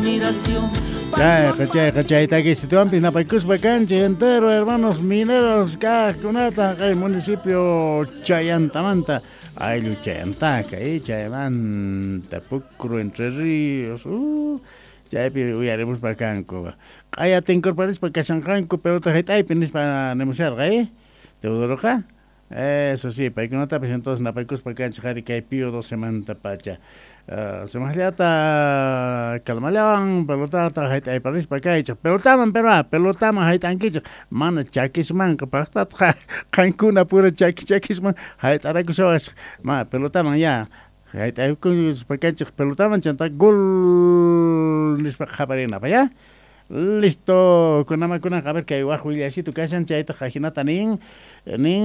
Chayqa chayqa chaytakistituanpis napaykuspa kanchik entero hermanos mineros kaqkunata kay municipio Chayantamanta ayllu Chayantaka chaymanta Pukru Entre Ríos chaypi uyarimuspa kanku q'aya tinkurparispa kashanqanku pelota hayt'aypi nispa nimusharqa Teodoroqa eso sí paykunatapis entonces napaykuspa kanchik qhari kay Pío 12 manta pacha sumaqllata calmallawan pelotata hayt'ayparispa kaychik pelotaman pero pelotaman hayt'ankichik mana chakismanqa paqtataq qankuna pura chaki chakisman hayt'arakushawasqa ma pelotaman ya hayt'aykuspa kanchik pelotaman chanta gol nispa qhaparinapaq ya. Listo, kunamakunaqa a ver kay waq willasito kashan chaytaq ajinata nin nin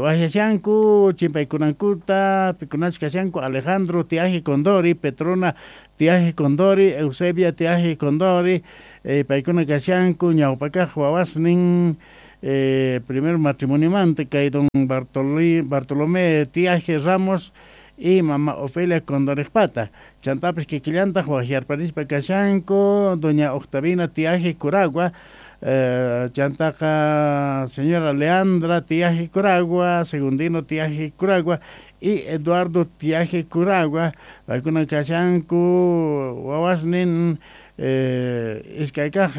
waqyashanku chimpaykunankuta pikunachus kashanku Alejandro Tiaje Condori, Petrona Tiaje Condori, Eusebia Tiaje Condori, paykuna kashanku ñawpakaq wawasnin primer matrimoniomanta kay don Bartolomé Tiaje Ramos y mama Ofelia Condorejpata. Chantapis kikillantaq waqyarparispa kashanku doña Octavina Tiaje Curagua, chantaqa señora Leandra Tiaje Curagua, Segundino Tiaje Curagua y Eduardo Tiaje Curagua, paykuna kashanku wawasnin iskaykaq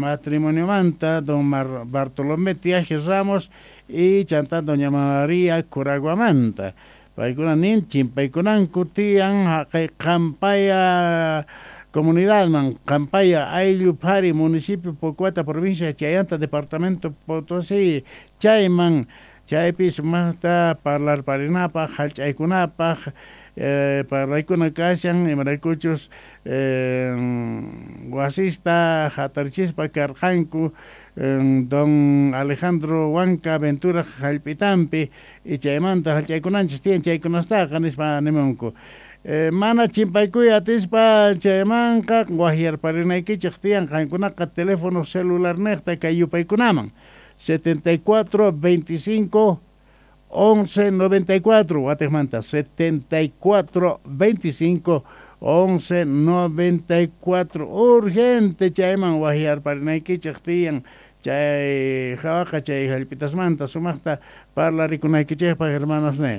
matrimoniomanta don Bartolomé Tiaje Ramos y chanta doña María Curaguamanta. Paykuna nin chimpaykunanku tiyan haqay Qampaya comunidadman Qampaya ayllu phari municipio Pocoata provincia Chayanta departamento Potosí chayman chaypi sumaqta parlarparinapaq hallch'aykunapaq parlaykuna kashan imaraykuchus wasista hatarichispa karqanku don Alejandro Huanca Ventura hallp'itampi y chaymanta hallch'aykunanchis tiyan chaykunastaqa nispa nimunku. Mana chimpaykuy atispa chaymanqa waqyarparinaykichik tiyan qankunaqa teléfono celular niqta kay yupaykunaman 74 25 11 94 watiqmanta 74 25 11 94 urgente chayman waqyarparinaykichik tiyan chay hawaqa chay hallp'itasmanta sumaqta parlarikunaykichikpaq hermanos ne.